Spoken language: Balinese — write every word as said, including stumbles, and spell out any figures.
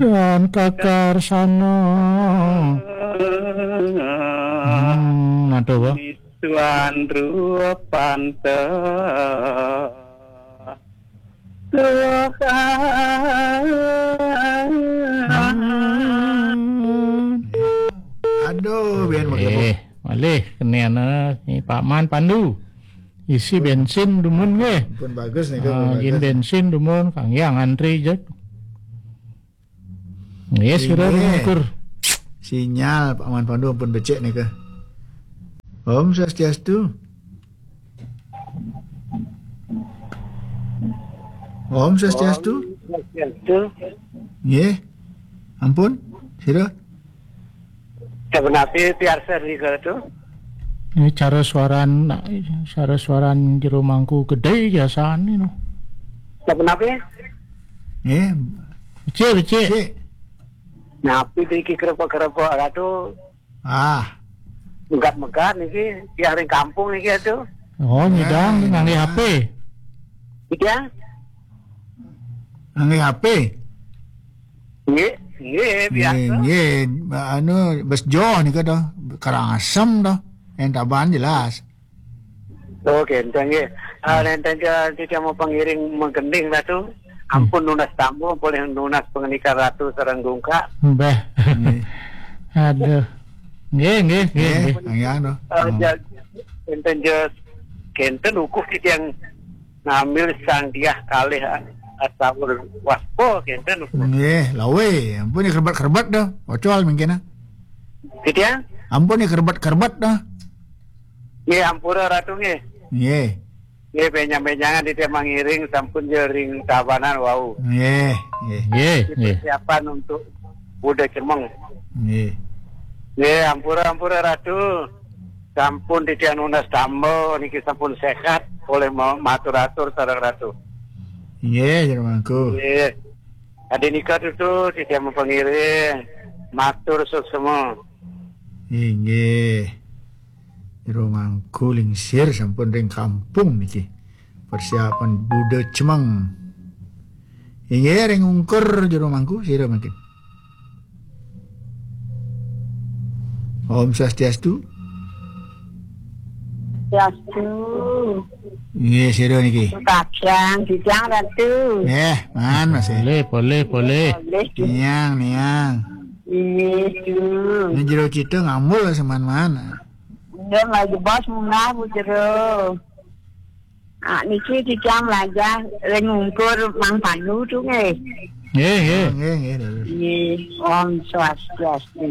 Lan kakarsana. Hmm, aduh, wah. Tuan rupa pantes. Tuhan. Aduh, biar pakai Eh, malih kenian, eh, ni Pak Man Pandu. Isi bensin dumun nggih. Pun bagus nih, Ah, pun yin bagus. Bensin dumun, kang yang antri jek. Nggih, sira Nggih. Ring ukur. Sinyal Pak Man Pandu ampun becik nika. Om Swastiastu. Om Swastiastu. Om Swastiastu. Nggih. Ampun, sira. Sapunapi piarsa nika tu? Ini cara suaran, cara suaran jero mangku gedhe biasane no. Sapunapi? Nggih. Becik, becik. Cik. Napi iki kerepek-kerepek ratu? Ah. Megat-megat niki, tiang ring kampung niki atu. Oh, nyidang. Eh, ngangge H P. Iya. Ngangge H P. Nggih, nggih, biasa. Nggih, nggih. Anu, bes joh nika to. Karangasem to. Entaban jelas. Oh, kenten nggih. Ah, Hmm. Nenten ja, titiang mau pangiring menggending ratu. Hmm. Ampun nunas tamu, boleh nunas pengenikar ratu sareng gungkak. Mbah. Nggih. Aduh. Nggih, nggih, nggih, Nggih, nggih. Nggih, anu. Ah, Hmm. Ja, kenten ja, kenten ukuh titiang ngambil Sang Diah kalih, ah, Astawur Waspa, kenten ukuh. Nggih, lawe. Ampun ya kerbet-kerbet dah. Ocol mungkin ah. Titiang? Ampun ya kerbet-kerbet dah. Nggih, ampura ratu nggih. Nggih. Nggih, benjang-benjangan titiang mangiring sampun ja ring tabanan wau. Nggih, nggih. Nggih, nggih. Persiapan untuk Buda Cemeng. Nggih. Nggih, ampura-ampura ratu. Sampun titiang nunas tamba niki sampun sehat oleh ma-, matur-atur sareng ratu. Nggih, jero mangku. Nggih. Adi nika tutu titiang mapangiring. Matur suksma. Inggih. Jero mangku lingsir sampun ring kampung niki. Persiapan Buda Cemeng. Inggih, ring ungkur jero mangku sira mangkin. Om Swastiastu. Swastiastu. Inggih, sira niki. Kadang, Kijang Ratu. Nggih, man, Mas. Boleh, boleh, boleh. Boleh. Niang, niang. Inggih, Tu. Ini jero cita ngambul seman-man. Nggih, lagi bos munah, Bu Jero. Ah, niki titiang mlajah ring ungkur Mang Pandu tu nggih. Nggih, nggih. Oh, nggih, nggih, leres. Nggih, Om Swastiastu.